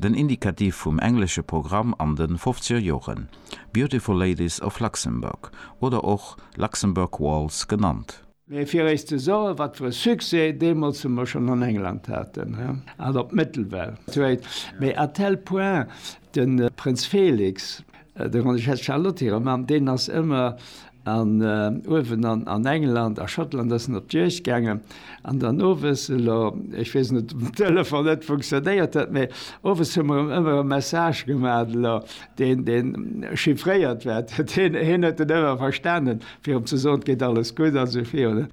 Den Indikativ vum englesche Programm an de fofzeger Joren, Beautiful Ladies of Luxembourg oder och Luxembourg Waltz genannt. Mee fir Iech ze soen, wat fir e Succès deemools mer schonn an England haten, an op d'Mëttelwelt. Mee à tel point, de Prënz Felix, der Grande-Duchesse Charlotte hire Mann, deen ass ëmmer an uewen an England, a Schottland ass en op d'Juegd gaangen, an dann owes, elo, ech weess net, ob den Telefon net funktionéiert huet, mee owes hu mer em ëmmer e Message gemaach, elo, deen, deen chiffréiert war, hien huet en ëmmer verstanen, fir em ze soen, et geet alles gutt a sou virun.